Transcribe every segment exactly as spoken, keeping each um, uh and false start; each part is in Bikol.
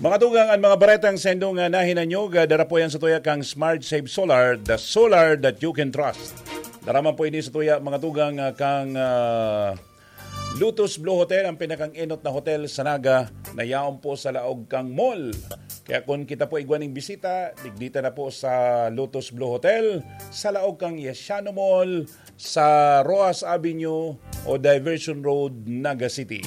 Mga tugang, ang mga baretang sendo nga nahinanyog, ah, dara po yan sa tuya kang Smart Save Solar, the solar that you can trust. Dara man po ini sa tuya, mga tugang, ah, kang, ah, Lotus Blue Hotel, ang pinakang enot na hotel sa Naga, na yaon po sa laog kang mall. Kaya kung kita po igwa ning bisita, digdita na po sa Lotus Blue Hotel, sa laog kang Yasiano Mall, sa Roxas Avenue o Diversion Road, Naga City.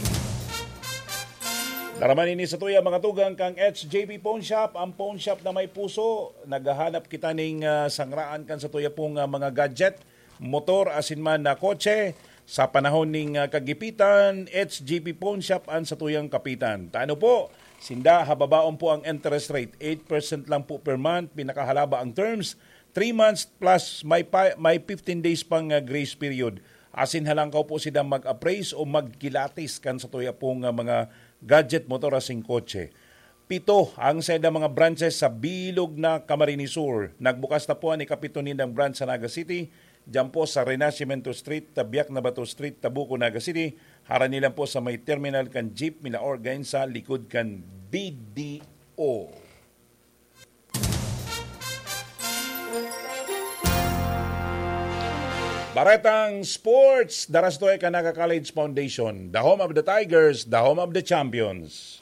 Dara man ini sa tuya, mga tugang, kang H J P Pawn Shop, ang pawn shop na may puso. Naghahanap kita ning, ah, sangraan kan sa tuya pong, ah, mga gadget, motor, asin man na kotse. Sa panahon ning, ah, kagipitan, H J P Pawn Shop an sa tuyang kapitan. Tano po, sinda, hababaon po ang interest rate. Eight percent lang po per month, pinakahalaba ang terms. Three months plus may, pa, may fifteen days pang, ah, grace period. Asin halangkaw po sila mag-appraise o magkilatis kan sa tuya pong, ah, mga gadget, motor, asin kotse. Pito ang saindang mga branches sa bilog na Camarines Sur. Nagbukas na po an ikapito nindang branch sa Naga City, diyan po sa Renacimiento Street, Tabiak na Bato Street, Tabuco, Naga City. Harani lang po sa may terminal kan Jeep Milaor, gain sa likod kan B D O. Baretang Sports, dara sa tuya kan Naga College Foundation, the home of the Tigers, the home of the champions.